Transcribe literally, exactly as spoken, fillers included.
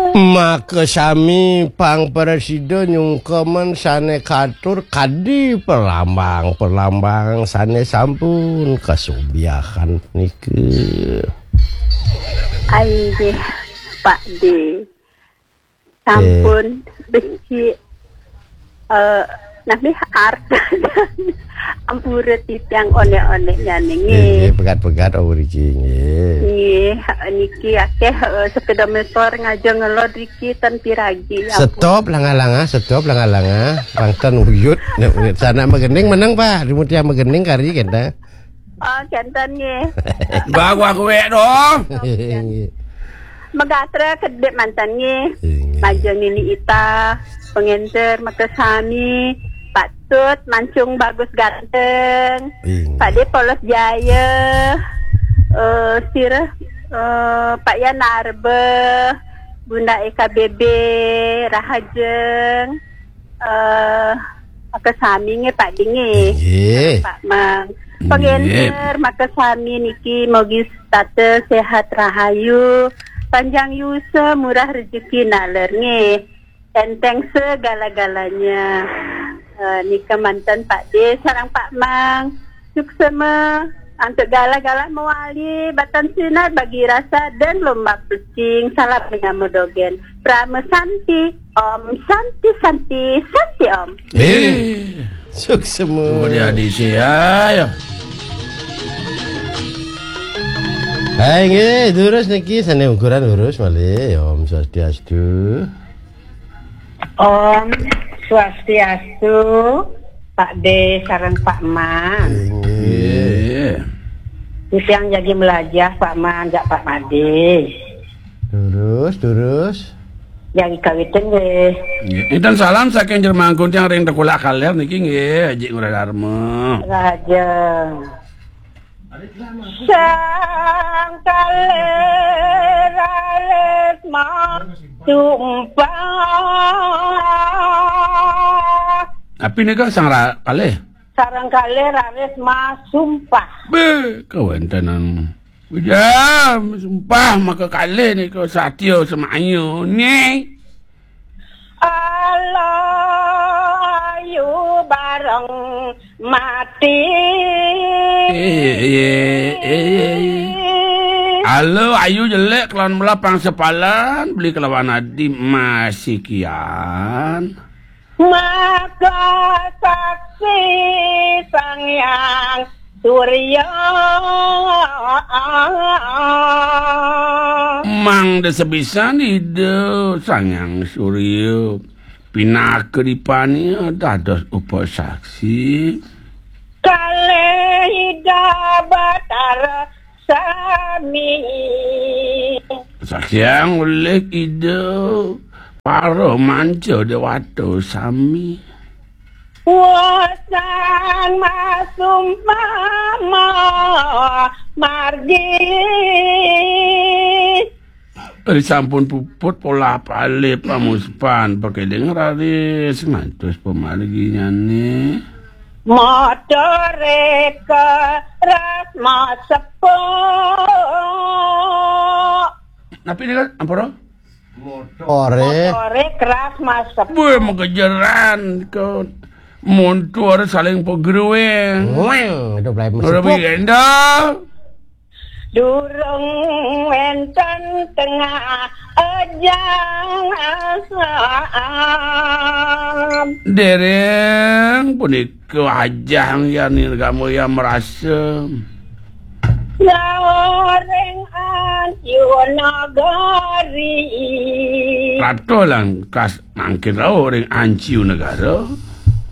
Maka sami pang prasida nyungkeman sane katur kadi pelambang-pelambang sane sampun kasubiakan nika. Inggih, Pak D. Sampun becik, eh, nami arta ampura titiang onek-oneknyane, nggih. Nggih, pegat-pegat, oh, mriki, nggih. Nggih, niki akeh, eh, sepeda motor ngaja ngelod riki ten piragi, ya ampun. Stop, langa-langa, stop, langa-langa. Pang ten uyut, nek uyut sanak magening meneng, Pak. Dimutiang magening kari kenta. Oh, kenten nggih. Bah, gua kuek dong. Nggih. Megatra kedip mantan nggih. Nggih. Majeng Nini Ita, pengenter makasami, Pak Tut, Mancung Bagus Ganteng, nggih. Pak De Polos Jaya, eh, sira, eh, Pak Yan Arbe, Bunda E K B B, Rahajeng, eh, makasami nggih, Pak Ding nggih. Nggih. Pak Mang. Nggih. Pengenter makasami niki mogi setata sehat rahayu, panjang yusa, murah rejeki naler nggih. Enteng segala-galanya. Eh, nika manten Pak De sareng Pak Mang. Suksema antuk gala-gala mewali batan sinar bagi rasa dan lomba pecing. Salam menyama dogen. Prama Santi, Om Santi, Santi, Santi Om. Eh, suksema. Oh, dia di sini, ya. Hai, nggih, durus niki sane ukuran lurus malih. Om Swastiastu. Om Swastiastu, Pak De sareng Pak Man. Inggih. Nggih. Titiang jagi melajah, Pak Man, jak Pak Made. Terus, terus. Jagi kawitin nggih. Nggih. Inten salam saking Jermangkun tiang ring Tekulak Kaler niki nggih, Haji Ngurah Darma. Raja. Sang Kaler alis masumpah. Api nika Sang Ra-, Kalih? Sareng Kaler alis masumpah. Be, kawentenan. Ujar, sumpah maka kalih nika satya semaya. Nih. Ala ayu bareng mati. Eh, eh, eh, eh. Ala ayu jelek kelawan belah pangsepalan, beli kelawan adi masih kian. Maka saksi Sang Hyang Surya. Mangda sebisan Ida Sang Hyang Surya pinaka dipania dados upasaksi. Kalih Ida Batara sami. Saksiang olih Ida para manca dewata sami. Wasan masumpama margi. Ri sampun puput polah palih pamuspan pakeding raris ngantos pamarginyane. Motore keras masepuk. Napi nika, ampura? Motore. Motore keras masepuk. Weh, magejeran, kon. Montor saling pegruing. Weng, itu belai masepuk. Ora bigenda. Durung wenten tengah ajang asam. Dereng punika ajang yani kamu yang merasa. Laring Anciu Nagari. Ratu lan kas mangkin rauh ring Anciu Negara.